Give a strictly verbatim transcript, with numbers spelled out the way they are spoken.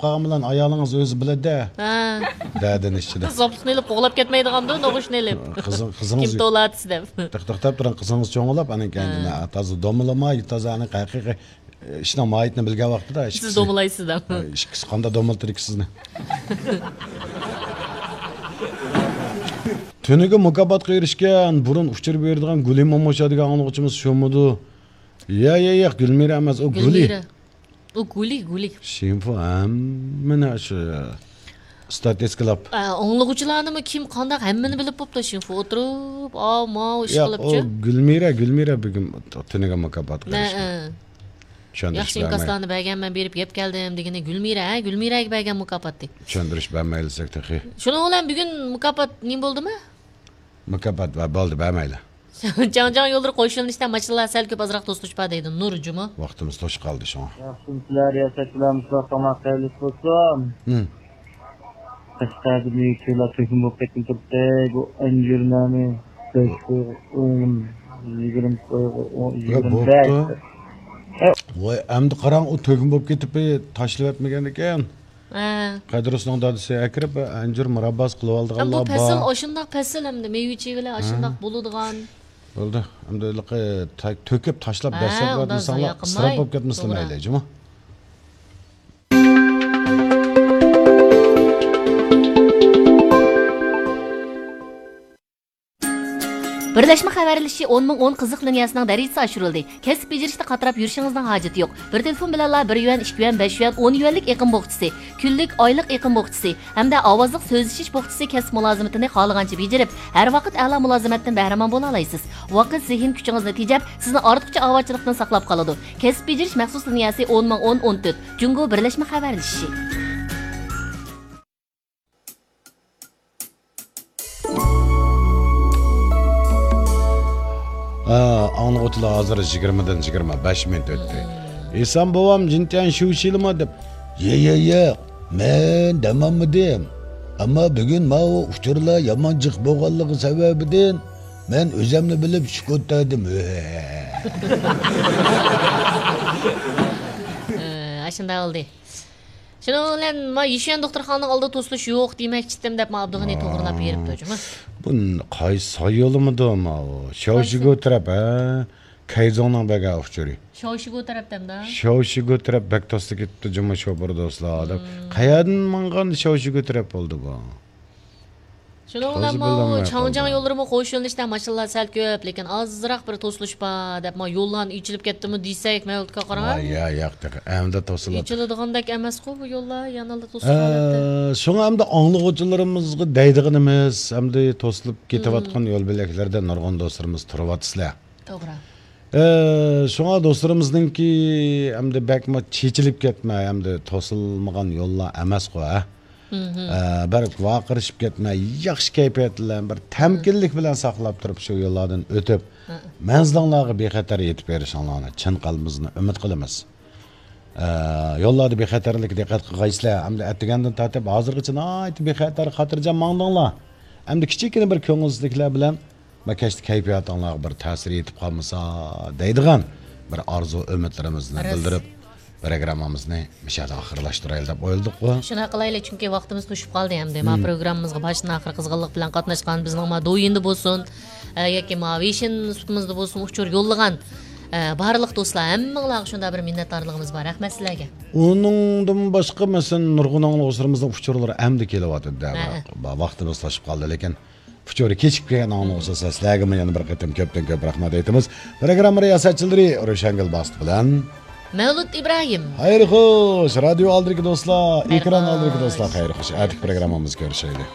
قالغان بىلەن ئايالىڭىز ئۆزى بىلىدۇ-دە. ھە. دەدىنى ئىچىدە. زاپۇسنى ئېلىپ قوغلاپ كەتمەيدىغاندۇ، نوغۇچنى ئېلىپ. قىزىڭ-، قىزىڭىز كىم توۋلاۋاتىسى دەپ. توختاپ، توختاپ تۇرۇڭ، قىزىڭىز چوڭلاپ، ئانىڭ كەينىدىن، ھە. ھە، تازا دومىلىماي، تازا ئانىڭ ھەقىقىي ئىشنىڭ ماھىيىتىنى بىلگەن ۋاقتىدا سىز ئىككىسى، دومىلايسىز دەپ. ھە، ئىككىسى قانداق دومىلىتىدىكى سىزنى؟ تۈنۈگۈن مۇكاپاتقا ئېرىشكەن، بۇرۇن ئۇچۇر بېرىدىغان گۈلى موموشا دېگەن ئاڭلىغۇچىمىز شۇمىدۇ؟ يا، يا، ياق، گۈلمىرە ئەمەس، ئۇ گۈلى. گۈلمىرە. ئۇ گۈلى، گۈلى. شىنفۇ ھەممىنى شۇ ستاتىستىكىلاپ. ئا، ئاڭلىغۇچىلارنىمۇ كىم قانداق ھەممىنى بىلىپ بوپتۇ، شىنفۇ ئولتۇرۇپ، ئاۋۇ ماۋۇ ئىش ياق، ئۇ قىلىپچۇ. گۈلمىرە، گۈلمىرە بۈگۈن تۈنۈگۈن مۇكاپاتقا نە، ئېرىشكەن. ئە. چۈشەندۈرۈش ياخشى بەرمەي. ئىنكاسلارنى بەرگەن، مەن بېرىپ يەپ كەلدىم دېگىنى گۈلمىرە، ھە، گۈلمىرەگە بەرگەن مۇكاپاتتى. چۈشەندۈرۈش بەرمەيلىسەك تېخى. شۇنىڭ بىلەن بۈگۈن مۇكاپات نېمە بولدىمۇ؟ مۇكاپات بار، بولدى، بەرمەيلى. چاڭجياڭ يوللىرى قوشۇلۇنۇشتا ماشىنىلار سەل كۆپ، ئازراق توسۇلۇش بار دەيدۇ نۇرجۇمۇ. ۋاقتىمىز توشۇپ قالدى شۇڭا. ياخشىمۇسىلەر، رىياسەتچىلەر، مۇشۇنداق تاماق خەيرلىك بولسۇن. ھىم. قەشقەردە مېۋىچىلار تۆكۈن بولۇپ كەتكىلى تۇرۇپتۇ. بۇ ئەنجۈرلەرنى بەش قويغا ئون، يىگىرمە قويغا ئون، يا، يىگىرمە بەش. بوپتۇ. ۋاي، ئەمدى قاراڭ، ئۇ تۆكۈن بولۇپ كېتىپ، تاشلىۋەتمىگەن ئىكەن. ھە. قەدىرۇسنىڭ دادىسى ئەكىرىپ، ئەنجۈر مۇرابباسى قىلىۋالىدىغانلار بار. بۇ پەسىل، ئاشۇنداق پەسىل ئەمدى مېۋە-چېۋىلەر ئاشۇنداق بولىدىغان. بولدى. ئەمدى ھېلىقى تا-، تۆكۈپ تاشلاپ ھە، دەسسەپ ئۇنداق ئاتمىساڭلار، زايە قىلماي. ئىسراپ بولۇپ كەتمىسىلە توغرا. مەيلى، جۇمۇ. بىرلەشمە خەۋەرلىشىشى ئون مىڭ ئون قىزىق لىنىيەسىنىڭ دەرىجىسى ئاشۇرۇلدى. كەسىپ بېجىرىشتە قاتراپ يۈرۈشىڭىزنىڭ ھاجىتى يوق. بىر تېلېفون بىلەنلا بىر يۈەن، ئىككى يۈەن، بەش يۈەن، ئون يۈەنلىك ئېقىم بوخچىسى، كۈنلۈك، ئايلىق ئېقىم بوخچىسى ھەمدە ئاۋازلىق سۆزلىشىش بوخچىسى كەسىپ مۇلازىمىتىنى خالىغانچە بېجىرىپ، ھەر ۋاقىت ئەلا مۇلازىمەتتىن بەھرىمەن بولالايسىز. ۋاقىت، زېھىن كۈچىڭىزنى تېجەپ، سىزنى ئارتۇقچە ئاۋارىچىلىقتىن ساقلاپ قالىدۇ. كەسىپ بېجىرىش مەخسۇس لىنىيەسى ئون مىڭ ئون ئون تۆت، جۇڭگو بىرلەشمە خەۋەرلىشىشى. ھە، ئاڭلىغۇچىلار، ھازىر يىگىرمىدىن يىگىرمە بەش مىنۇت ئۆتتى. ئېسام بوۋام جىنتيەن شۇشىلىما دەپ، يە، يە، يە، مەن دەمالمىدىم. ئەمما بۈگۈن ماۋۇ ئۇچۇرلار يامان جىق بولغانلىقى سەۋەبىدىن مەن ئۆزەمنى بىلىپ سۈكۈت تەردىم. ئاشۇنداق بولدى. شۇنىڭ بىلەن ما يىشۈەن دوختۇرخانىنىڭ ئالدىدا توسۇلۇش يوق دېمەكچىدىم دەپ ما ئابدۇغېنى توغرىلاپ بېرىپتۇ جۇمۇ. بۇ قايسى سايولىمىدۇ ماۋۇ؟ شياۋشىگو تەرەپ، ھە؟ كەيزوڭنىڭ بەرگەن ئۇچۇرى. شياۋشىگو تەرەپتەمدا؟ شياۋشىگو تەرەپ بەك توسلا كېتىپتۇ جۇمۇ شوپۇر دوستلار دەپ. قەيەردىن ماڭغان شياۋشىگو تەرەپ بولدى بۇ؟ شۇنىڭ بىلەن ماۋۇ چاڭجياڭ يوللىرىمۇ قوشۇلۇنۇشتا ماشىنىلار سەل كۆپ، لېكىن ئازراق بىر توسۇلۇش بار دەپ، ما يوللارنى ئېچىلىپ كەتتىمۇ دېسەك، مەۋلۇتكا قاراڭ. ۋاي، يا، ياق، تېخى ئەمدى توسۇلۇپ. ئېچىلىدىغاندەك ئەمەسقۇ بۇ يوللار، يەنىلا توسۇلۇش ھالەتتە. ئە، شۇڭا ئەمدى ئاڭلىغۇچىلىرىمىزغا دەيدىغىنىمىز، ئەمدى توسۇلۇپ كېتىۋاتقان يول بۆلەكلەردە نۇرغۇن دوستلىرىمىز تۇرۇۋاتىسىلەر. توغرا. ئە، شۇڭا دوستلىرىمىزنىڭكى ئەمدى بەكمۇ چېچىلىپ كەتمەي، ئەمدى توسۇلمىغان يوللار ئەمەسقۇ، ھە؟ ئە، بىر ۋارقىرىشىپ كەتمەي، ياخشى كەيپىيات بىلەن، بىر تەمكىنلىك بىلەن ساقلاپ تۇرۇپ، شۇ يوللاردىن ئۆتۈپ، مەنزىلىڭلارغا بىخەتەر يېتىپ بېرىشىڭلارنى چىن قەلبىمىزدىن ئۈمىد قىلىمىز. ئە، يوللاردا بىخەتەرلىككە دىققەت قىلغايسىلەر. ئەمدى ئەتىگەندىن تارتىپ ھازىرغىچە ناھايىتى بىخەتەر، خاتىرجەم ماڭدىڭلار. ئەمدى كىچىككىنە بىر كۆڭۈلسىزلىكلەر بىلەن، ما كەچتە كەيپىياتىڭلارغا بىر تەسىر يېتىپ قالمىسا دەيدىغان بىر ئارزۇ ئۈمىدلىرىمىزنى بىلدۈرۈپ، پروگراممىمىزنى مۇشۇ يەردە ئاخىرلاشتۇرايلى دەپ ئويلىدۇققۇ. شۇنداق قىلايلى، چۈنكى ۋاقتىمىز توشۇپ قالدى ئەمدى. ما پروگراممىمىزغا باشتىن ئاخىر قىزغىنلىق بىلەن قاتناشقان بىزنىڭ ما دويىندا بولسۇن، ئە، ياكى ما ۋېيشىن سۇپىمىزدا بولسۇن، ئۇچۇر يوللىغان، ئە، بارلىق دوستلار، ھەممىڭلارغا شۇنداق بىر مىننەتدارلىقىمىز بار. رەھمەت سىلەرگە. ئۇنىڭدىن باشقا، مەسىلەن، نۇرغۇن ئاڭلىغۇچىلىرىمىزنىڭ ئۇچۇرلىرى ئەمدى كېلىۋاتىدۇ. ۋاقتىمىز توشۇپ قالدى، لېكىن ئۇچۇرى كېچىكىپ كەلگەن ئاڭلىغۇچىلار، سىلەرگىمۇ يەنە بىر قېتىم كۆپتىن كۆپ رەھمەت ئېيتىمىز. پروگرامما رىياسەتچىلىرى روشەنگۈل باستى بىلەن مەۋلۇت ئىبراھىم. خەير خوش، رادىيو ئالدىدىكى دوستلار، ئېكران ئالدىدىكى دوستلار، خەير خوش. ئەتىكى پروگراممىمىزدا كۆرۈشەيلى.